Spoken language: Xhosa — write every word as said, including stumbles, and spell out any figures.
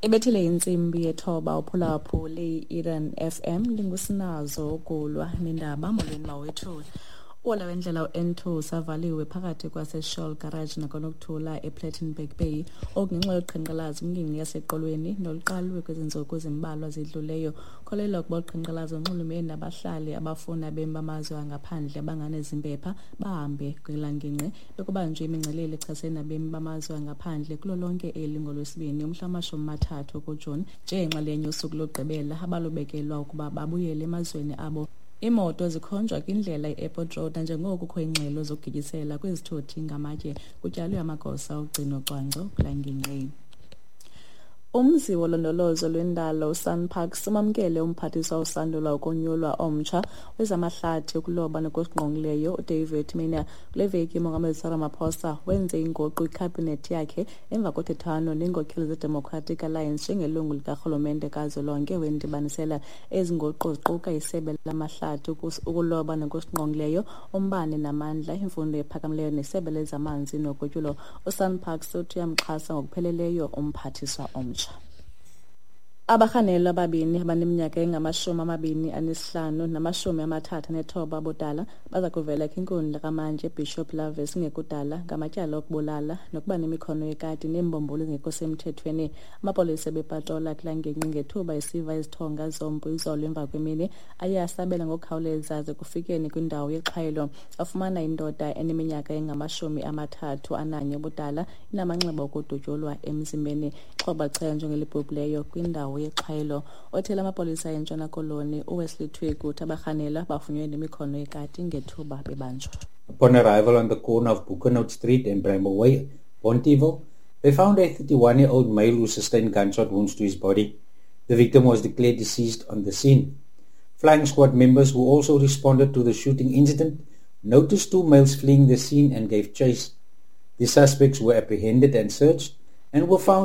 Ebethile intsimbi yethoba uphulaphule i-Eden F M lingusinazo ukulwa nendaba. Molweni mawethu. Uhola wendlela u-N two usavaliwe phakathi kwaseShell Garage naKwanokuthula ePlettenberg Bay, oku ngenxa yoqhankqalazo kwingingqi yaseQolweni noluqalwe kwezi ntsuku zimbalwa zidluleyo. Kholelwa ukuba uqhankqalazo lunxulumene nabahlali abafuna abemi bamazwe angaphandle abangenazimpepha bahambe kwelaa ngingqi. Bekubanjwe imingcelele echasene nabemi bamazwe angaphandle kulo lonke eli ngoLwesibini umhla wamashumi amathathu kuJuni njengenxalenye yosuku lokugqibela abalubekelwa ukuba babuyele emazweni abo. Iimoto zikhonjwa kwindlela i-Airport Road nanjengoko kukho iingxelo zokugityisela kwizithuthi ngamatye. Kutyalwe amagosa ogcino cwangco kulaa ngingqi. Umzi wolondolozo lwendalo uSANParks umamkele umphathiswa osandula ukonyulwa omtsha wezamahlathi, ukuloba nokusingqongileyo uDavid Maynier. Kule veki uMongameli Cyril Ramaphosa wenze inguqu kwikhabhinethi yakhe emva kothethwano neenkokheli zeDemocratic Alliance njengelungu likarhulumente kazwelonke wendibanisela. Ezi nguqu ziquka isebe lamahlathi, ukuloba nokusingqongileyo, umbane namandla, imfundo ephakamileyo nesebe lezamanzi nogutyulo. USANParks uthi uyamxhasa ngokupheleleyo umphathiswa omtsha. Abarhanelwa ababini abaneminyaka engamashumi amabini anesihlanu namashumi amathathu anethoba abudala baza kuvela kwinkundla kamantyi eBishop Lavis kungekudala ngamatyala okubulala nokuba nemikhono yekati neembombolo ezingekho semthethweni. Amapolisa ebepatrola kulaa ngingqi ngethuba esiva izithonga zompu izolo emva kwemini. Aye asabela ngokukhawuleza aze kufikeni kwindawo yexhwayelo afumana indoda eneminyaka engamashumi amathathu ananye ubudala inamanxeba okudutyulwa emzimbeni. Ixhoba lichazwa njengelibhubhileyo kwindawo yexhwayelo. Othela amapolisa eNtshona Koloni uWesley Twigg uthi abarhanelwa bafunyenwe nemikhono yekati ngethuba bebanjwa. Upon arrival on the corner of Boekenhout Street and Bramble Way, Bonteheuwel, they found a thirty-one-year-old male who sustained gunshot wounds to his body. The victim was declared deceased on the scene. Flying squad members who also responded to the shooting incident noticed two males fleeing the scene and gave chase. The suspects were apprehended and searched and were found